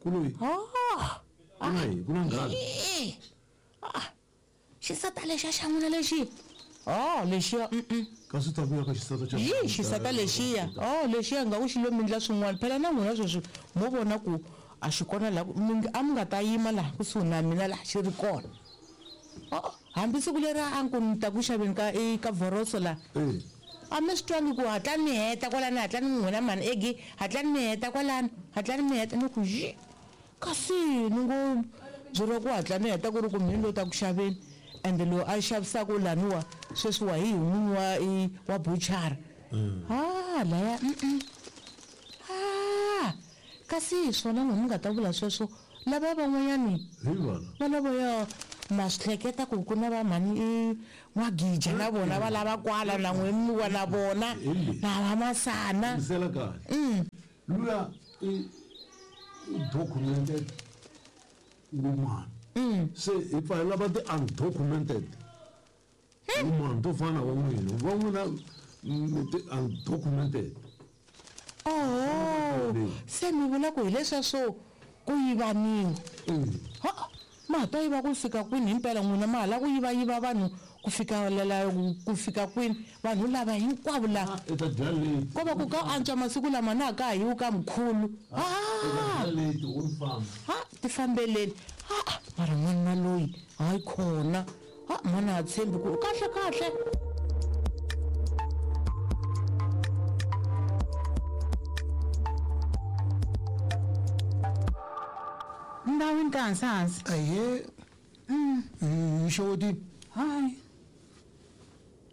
Ku loyi Oh. ku na yini ku na nghala Eh. Ah. Xisata lexiya xa n'wina lexi. Oh, lexiya mm. Kasi ta vuya ka xisata xa Yi xisata lexiya. Oh, lexiya nga ku xi lo mi ndla swin'wana. Phela na n'wina sweswi mo vona ku a xi kona la mi a mi nga ta yima laha kusuhi na mina laha xi ri kona. Oh, hambi siku leri a ni ku ni ta ku xaveni ka i ka vhoroso la. Eh. A mi swi twangi ku hatlani mi heta kwalani hatlani n'wina mhani Eggie hatlani mi heta kwalani hatlani mi heta ni ku yi kasi ni ngo byeriwa ku hatla ni heta ku ri ku mhani lo ta ku xaveni ende loyi a xavisaka laniwa sweswi wa hi hi n'winyi wa i wa buchara ha laya mm ha kasi hi swona n'we mi nga ta vula sweswo lava van'wanyani Hi vana. va lavaya ma swi hleketa ku ku na va mhani i n'wagija na vona va lava kwala na n'we mi wa na vona na va masana Yingisela kahle. Luya i i documented woman. Se hi pfa hi lava ti-undocumented woman to fana na va n'wina. Va n'wina mi ti-undocumented. Oho se mi vula ku hi leswiya swo ku yivaniwa ha ma ha ta yiva ku fika kwini himpela n'wina ma ha lava ku yivayiva vanhu ku fika lela ku fika kwini vanhu lava hinkwavo la I ta dya late. Ko va ku ka antswa masiku lama na ha ka ha yiwi ka mkhulu I ta dya late wo famba. Ha tifambeleni ha mara n'wanuna loyi hayi khona ha mhani ha tshembi ku kahle kahle. Ndhawini ka hansi hansi. Ahee. Hi xewetini. Hayi.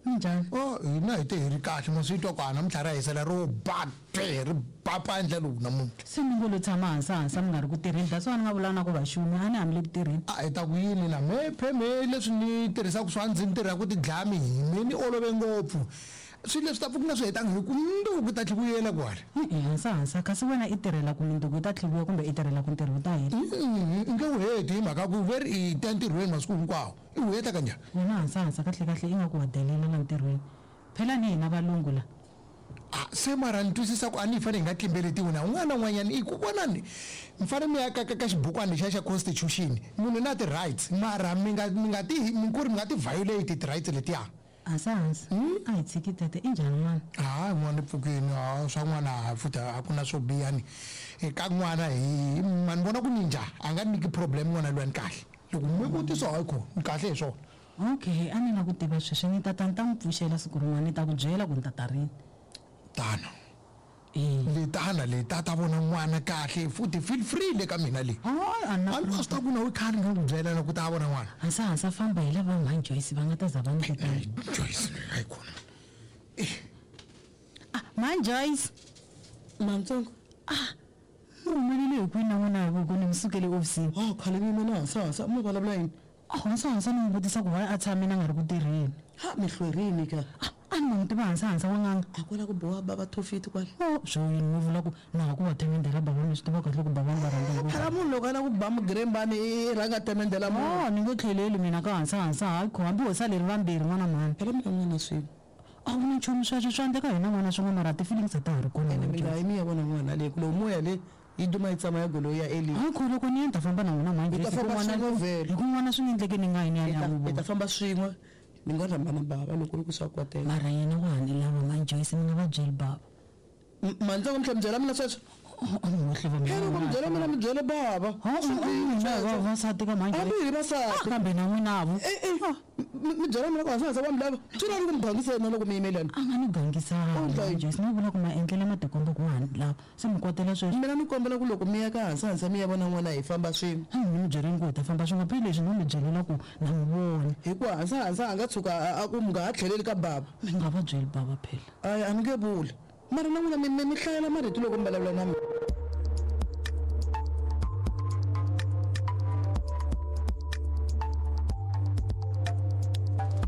Minjhani? Oh, hina hi te hi ri kahle ma swi twa ku a namuntlha ra hisela ro ba twe ri ba pandla lowu namuntlha. Se mi ngo lo tshama hansi hansi a mi nga ri ku tirheni that's why ni nga vula na ku vaxumi a ni hambi le ku tirheni. A hi ta ku yini na me phe me leswi ni tirhisaka swa ndzi ni tirha ku tidlaya mihi me ni olove ngopfu swilo leswi ta pfuka nga swi hetanga hi ku mundzuku ta tlhivuyela kwale. E-e hansi hansi kasi wena i tirhela ku mindzuku yi ta tlhiviwa kumbe i tirhela ku ntirho wu ta hela? I nge wu heti hi mhaka ku ve ri i ta entirhweni masiku hinkwawo. I wu heta kanjhani? Wena hansa-hansa kahle-kahle ingaku wa delela la ntirhweni. Phela ni hina valungu la. A, se mara ni twisisa ku a ni hi fanele hi nga tlimbeletiwi na un'wana na un'wanyana. I ku vonani, mi fanele mi ya ka, ka, ka xibukwana lexiya xa constitution. Munhu na ti-rights, mara mi nga, mi nga ti, mi ku ri mi nga ti violate ti-rights letiya. Hansa-hansa, a hi tshiki tete. I njhani n'wana? Ha, n'wana i pfukile. Ha, swa n'wana ha, futhi a ku na swo biha ni. Ka n'wana hi, ma ni vona ku ni njha, a nga ni nyiki problem n'wana luya ni kahle. Loko mi vutisa hayi kho ni kahle hi swona. Okay, a ni la ku tiva sweswi ni ta ta ni ta n'wi pfuxela siku rin'wana ni ta ku byela ku ni ta ta rini. Tana. Ee. Le tana le ta ta vona n'wana kahle futhi feel free le ka mina le. Hayi a na. A ni swi ta ku na we khale ni ku byela na ku ta vona n'wana. Hansa hansa famba hi lava mhani Joyce va nga ta za va ni vitana. Joyce hayi khona. Ah, mhani Joyce. Mantsongo. Ah, Mi humelele hi kwini na n'wina hi ku ni mi sukele ehofisini? Oh, khale mi yime na Hansahansa, mi vulavula yini? Oh, Hansahansa ni n'wi vutisa ku why a tshamile a nga ri ku tirheni. Ha, mi hlwerini ka? Ah, a ni ma n'wi tiva Hansahansa wa n'anga. A kwala ku boha bava thofiti kwala. Oh, swo yini mi vula ku na ha ku va themendhela bava mi swi tiva kahle ku bava ni va rhandza ngopfu. Phela munhu loko a lava ku ba mugirembani i rhanga a themendhela munhu. Oh, ni nge tlheleli mina ka Hansahansa, hayi kho hambi ho sale hi ri vambirhi n'wana mhani. Phela mi na n'wana swin'we. A wu na nchumu sweswo swa endleka hina n'wana swin'we mara ti-feelings a ta ha ri kona Ene mi nga yi mi ya vona n'wana le ku lowu moya le yi duma yi tsama ya goloi ya Eli. Hayi kho loko ni ya ni ta famba na n'wina mhani Hi ta Joyce, famba hi ku n'wana swin'we vhele. hi ku n'wana swi nga endleki ni nga yi ni ya ni Hi ya ta n'wi hi ta vona. famba swin'we ni ngo rhamba na bava loko ku ri ku swa koteka. Mara yena wa ha ni lava mhani Joyce mi nga va byeli bava. Mantsongo mi tlhela mi byela mina sweswo? Phela loko mi byela mina mi byele bava. Vavasati ka mhani Hambi hi vasati. Kambe na n'wina vo. E-e, mi byela mina ku hansi wa mi lava. Swi lava ku mi gangisa yena loko mi yime lana. A nga ni gangisanga Okay. Joyce, ni vula ku maendlelo ma tikomba ku wa ha ni lava. Se mi kwatela sweswo. Mina ni kombela ku loko mi ya ka hansi hansi mi ya vona n'wana hi famba swin'we. Ni mi byeleni ku hi ta famba swin'we, phela leswi no mi byelela ku na n'wi vona. Hikuva hansi hansi a nga tshuka a ku mi nga ha tlheleli ka bava. Mi nga va byeli bava phela. Ayi a ni nge vuli. Mara na n'wina mi mi mi hlayela marito loko mi vulavula na mina.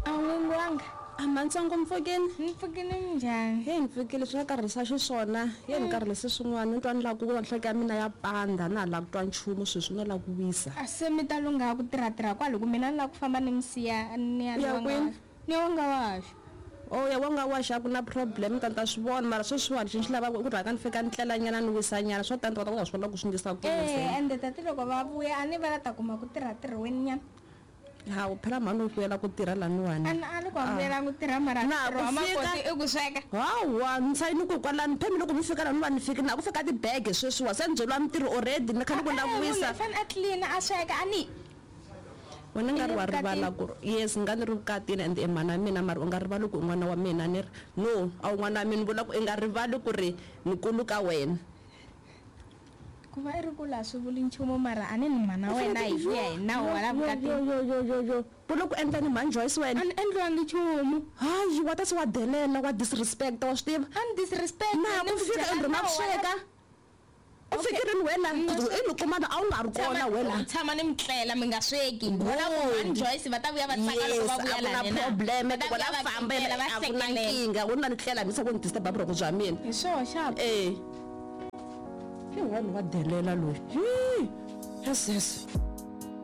A n'wingi wanga. A mantsongo mpfukeni. Ni pfukile minjhani? Heyi ni pfukile swi nga karhalisa xiswona. Ye ni karhalise swin'wana ni twa ni lava ku nhloko ya mina ya pandza na ha lava ku twa nchumu sweswi no lava ku wisa. A se mi ta lungha ku tirha tirha kwale ku mina ni lava ku famba ni mi siya ni ya U ya wanga kwini? ni ya wanga waxo. Oh ya wa nga waxa ku na problem ta ni ta swi vona mara sweswiwani xi ni xi lavaka i ku rhanga ni fika ni tlelanyana ni wisanyana swo tani ta kota ku ta swi vona ku swi ndlisa ku yini se. E ende tati loko va vuya a ni va la ta kuma ku tirha tirhweni nyana. Hawu phela mhani u vuyela ku tirha laniwani. A ni a ni ku a vuyela ku tirha mara Na ntirho wa ku fika- makoti i ku sweka. Hawa ni sayini ku kwalani phemi loko mi fika lani va ni fiki na ku fika tibege sweswiwa se ni byeriwa mintirho already ni kha ni ku Eh, munhu langwisa. i fanele a clean a sweka a ni Wena nga ri I le wa rivala vukatini. ku yes nga ni ri vukatini and i mhana mina mara u nga rivali ku i n'wana wa mina ni ri no a wu n'wana wa mina ni vula ku i nga rivali ku ri ni kulu ka wena. Ku va i ri kula a swi vuli nchumu mara a ni ni mhana wena hi ku ya hi nawu wa la vukatini. Yo yo yo yo vula ku endla ni mhani Joyce wena. A ni endliwangi nchumu. Hayi wa ta se wa delela wa disrespect wa swi tiva. A ni disrespect Na ni ku ku fika byela endrhini ya ku nawu wa la- sweka. U fikirini wena i ni kumana a wu nga ri kona wena. Tshama ni mi tlela mi nga sweki. Vona ku mhani Joyce va ta vuya va tsaka loko Yes, va a vuya ku na lani na. problem Va ta ku vuya la va famba kekela, va a ku na hlekelela. nkingha u na ni tlela mi se ku ni disturb vurhongo bya mina. Hi swoho xap. Eh. Hi wani wa delela loyi. Hi. Yes yes.